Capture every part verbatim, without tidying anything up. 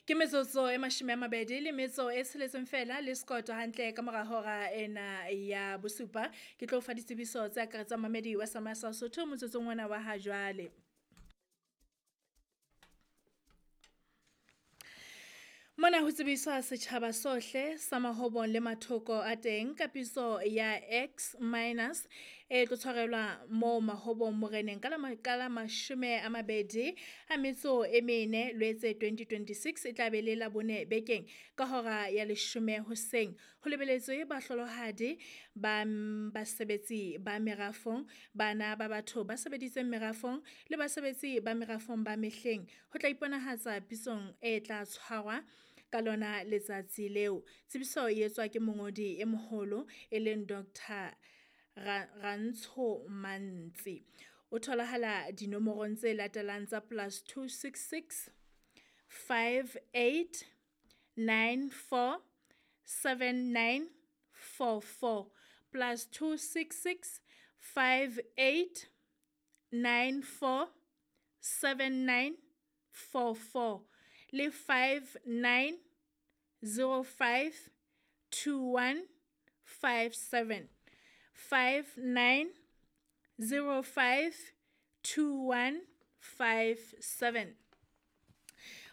Ke metsotso e mashome a mabedi le metso e tsheletseng fela le sekoto hantle ka mora hora ena ya bosupa. Ke tlo fa ditsebiso tse akaretsang mamedi wa Sama sa Sotho motsotsong ona wa ha jwale. Mona ho tsebiswa setjhaba sohle sa Mahobong le mathoko a teng ka pitso ya X minus e tlo tshwarelwa moo Mahobong Moreneng ka la ka la mashome a mabedi a metso e mene Lwetse twenty twenty-six e tla be le Labone bekeng ka hora ya leshome hoseng. Ho lebeletswe bahlolohadi ba basebetsi ba merafong, bana ba batho ba sebeditseng merafong le basebetsi ba merafong ba mehleng. Ho tla iponahatsa pitsong e tla tshwarwa ka lona letsatsi leo. Tsebiso e etswa ke mongodi e moholo e leng Doctor Rantsho Mantsi. O tholahala dinomorong tse latelang tsa plus two six six five eight nine four seven nine four four plus two six six five eight nine four seven nine four four le five nine zero five two one five seven five nine zero five two one five seven.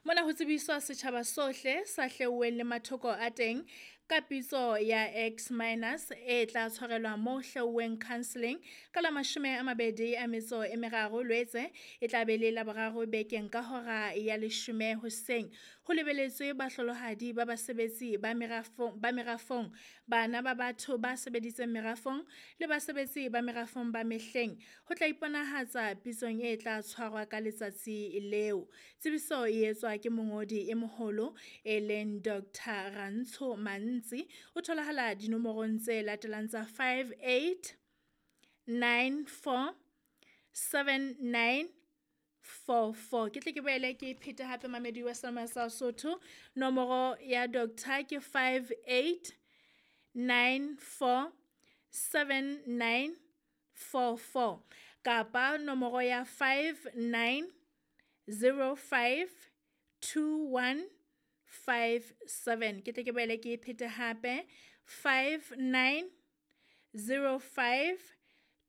Mona ho tsebiswa setjhaba sohle sa hleuweng le mathoko a teng ka pitso ya X minus e tla tshwarelwa mo hleuweng counselling ka la mashome a mabedi a metso e meraro Lwetse e tla be le Laboraro bekeng ka hora ya leshome hoseng. Ho lebeletswe bahlolohadi ba basebetsi ba merafong, ba merafong, bana ba batho ba sebeditseng merafong le basebetsi ba merafong ba mehleng. Ho tla iponahatsa pitsong e tla tshwarwa ka letsatsi leo. Tsebiso e etswa ke mongodi e moholo e leng Doctor Rantsho Mantsi. O tholahala dinomorong tse latelang tsa five eight nine four seven nine four four. Ke tle ke boele ke phete hape mamedi wa Sama sa Sotho. Nomoro ya doctor ke five eight nine four seven nine four four kapa nomoro ya five nine zero five two one five seven. Ke tle ke boele ke phete hape five nine zero five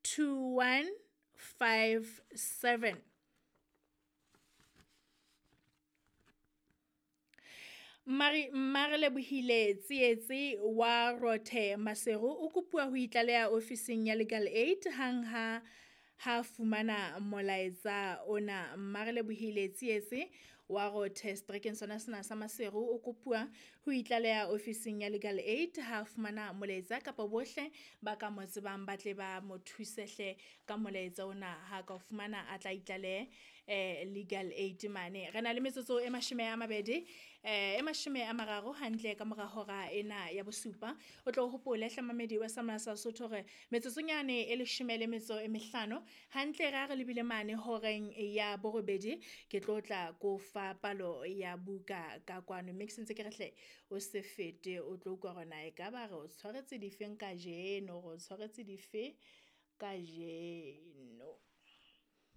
two one five seven. Mari Mmarelebohile Tsietsi wa Rothe Maseru o kopuwa ho itlaleha ofising ya Legal Aid hang ha ha fumana molaetsa ona. Mmarelebohile Tsietsi wa Rothe seterekeng sona sena sa Maseru o kopuwa ho itlaleha ofising ya Legal Aid ha fumana molaetsa kapa bohle ba ka mo tsebang ba tle ba mo thusehle ka molaetsa ona. Ha ka fumana a tla itlalehe eh Legal Aid mane. Re na le metsotso e mashome a mabedi eh e mashome a mararo hantle ka mora hora ena ya bosupa. O tlo hopole hle mamedi wa Sama sa Sotho hore metsotsonyane e leshome le metso e mehlano hantle ra re lebile mane horeng ya borobedi ke tlo tla ko fa palo ya buka ka kwano. Mme ke sentse ke re hle o se fete o tlo utlwa hore na ekaba re o tshwaretse difeng kajeno, re o tshwaretse dife kajeno.